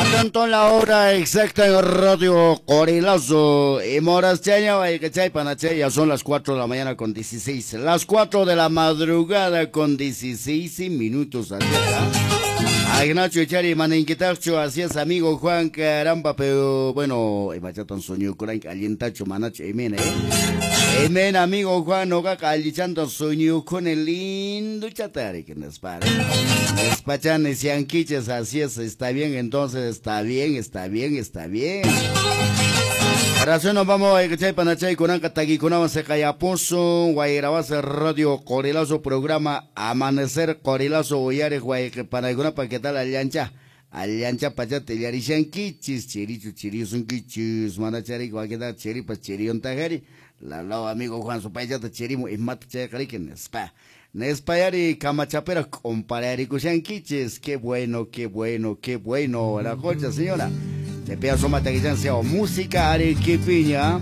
Atento la hora exacta en Radio Corilazo. Y moras chaña, chay panache, ya son las 4 de la mañana con 16. Las 4 de la madrugada con 16 minutos. Agnacho Chari Maninquitacho, así es, amigo Juan, caramba, pero bueno, imachatan sueño kurank alientacho manacho, emena, eh. Emena, amigo Juan, no allichando sueño con el lindo chatari que nos pare. Despachanes y anquiches, así es, está bien, entonces está bien, está bien, está bien. Ahora nos vamos a escuchar panachay kunanka taquikunawan seqayapusun Guayrabasa Radio Corilazo programa Amanecer Corilazo uyariq wayqi ¿qué tal allancha? Allancha pachata illarishankichis chirichu chirisunkichis manachari wakita chiripas chiriyuntajari lalao amigo Juan supaychata chirimu imata chayqariki nispa. Nespayari kamachapera compararikushankichis qué bueno, qué bueno, qué bueno la concha señora. Te pido suma taquichan sea música arequipiña.